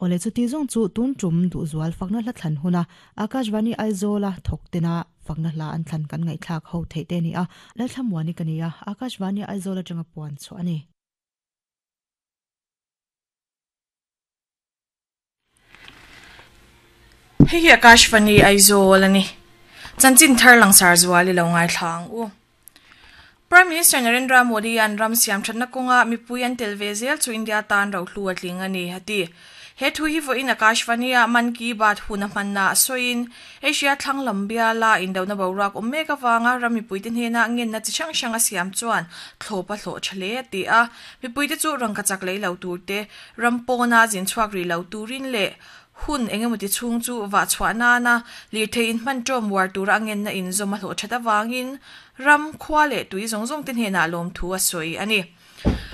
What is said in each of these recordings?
Awle chuti zawng chu tun tum duhzual fakna hla thlan huna Akashvani Aizawla thawk tena fakna hla an thlan kan ngaihthlak ho theih te a ni a, Lalthlamuani ka ni a, Akashvani Aizawl atanga puan chhuah a ni. Hei hi Akashvani Aizawl a ni. Chanchin thar langsar zual i lo ngaithla ang u. Prime Minister Narendra Modi an ram siam thatna kawnga mipui an tel ve zel chu India tan rohlu a tling a ni, a ti. He thu hi vawiin Akashvani-ah Mann Ki Baat hun a hmanna a sawiin, Asia thlang lam biala indona boruak awm mek avanga ram mipuite hnena ngenna chi hrang hrang a siam chuan thlawp a hlawh tha hle a ti a. Mipuite chu rangka chak lei lo tur te, ram pawna zin chhuak rih lo turin leh hun eng emaw ti chhung chu vah chhuah nana lirthei inhman ṭawm uar tura a ngenna inzawm a hlawh ṭhat avangin ram, khua leh tui zawng zawng te hnenah lawmthu a sawi a ni.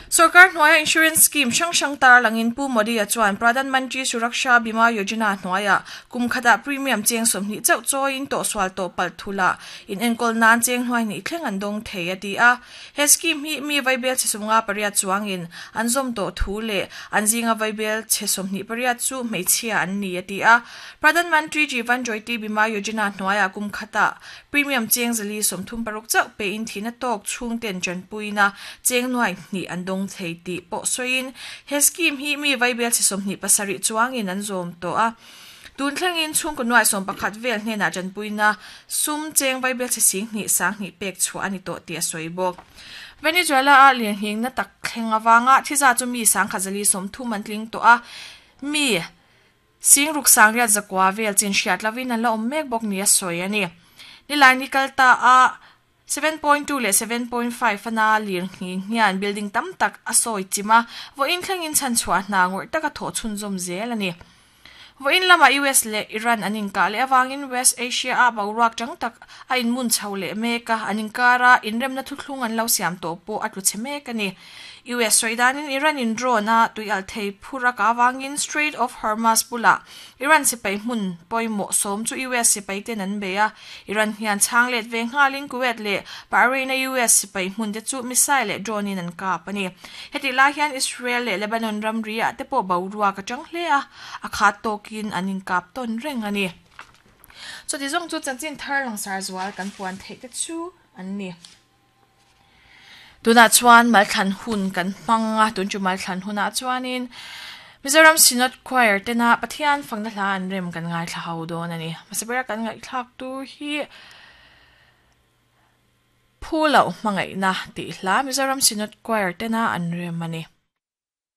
Sorkar hnuaia insurance scheme hrang hrang tarlangin Pu Modi-a chuan Pradhan Mantri Suraksha Bima Yojana hnuaiah kum khatah premium cheng 20 chauh chawiin tawhsual tawh palh thula inenkawl nan cheng hnuai hnih thleng an dawng thei a ti a. He scheme hi mi vaibel chhe 58 chuangin an zawm tawh thu leh an zinga vaibel chhe 28 chu hmeichhia an ni a ti a. Pradhan Mantri Jeevan Jyoti Bima Yojana hnuaiah kum khatah Premium cheng 436 chauh pein thihna tawk chhungten tanpuina cheng nuai hnih an dawng thei tih pawh sawiin he scheme hi mi vaibel chhe 27 chuangin an zawm tawh a. Tun thlengin chhungkaw nuai 11 vel hnenah tanpuina sum cheng vaibel chhe sing hnih sang hnih pek chhuah a ni tawh tih a sawi bawk. Venezuela-a lirnghingna tak thleng avanga thiza chu mi 130 an tling tawh a, mi Sing ruk sangriat zakua vel chin hriat lovin an la awm mek bawk nia sawi a ni. Nilai ni kal ta a 7.2 leh 7.5 a na lir nghing hian building tam tak a sawi chim a, vawiin thlengin chhanchhuah hna ngawrh taka thawh chhunzawm zel a ni. Vawiin lamah US leh Iran an inkah leh avangin West Asia-a boruak chang tak a inmun chho leh mek a, an inkara inremna thuthlung an lo siam tawh pawh a tlu chhe mek a ni. US sawi danin Iran in drone a tuialh thei phur a kah avangin Strait of Hormuz bulah Iran sipai hmun pawimawh sawm chu US sipai ten an bei a. Iran hian chhang let ve nghalin Kuwait leh Bahrain a US sipai hmun te chu missile leh drone in an kap a ni. Hetih lai hian Israel leh Lebanon ramri ah te pawh boruak a tang hle a, a khat tawkin an inkap tawn reng a ni. Chuti zawng chu chanchin thar langsar zual kan puan theih te chu an ni. Tunah chuan malthlan hun kan hmang a, tun chu malthlan hunah chuanin Mizoram Synod Choir tena Pathian fakna hla an rem kan ngaithla ho dawn a ni. Hmasa bera kan ngaihthlak tur hi Phu loh hmangaihna tih hla Mizoram Synod Choir tena an rem a ni.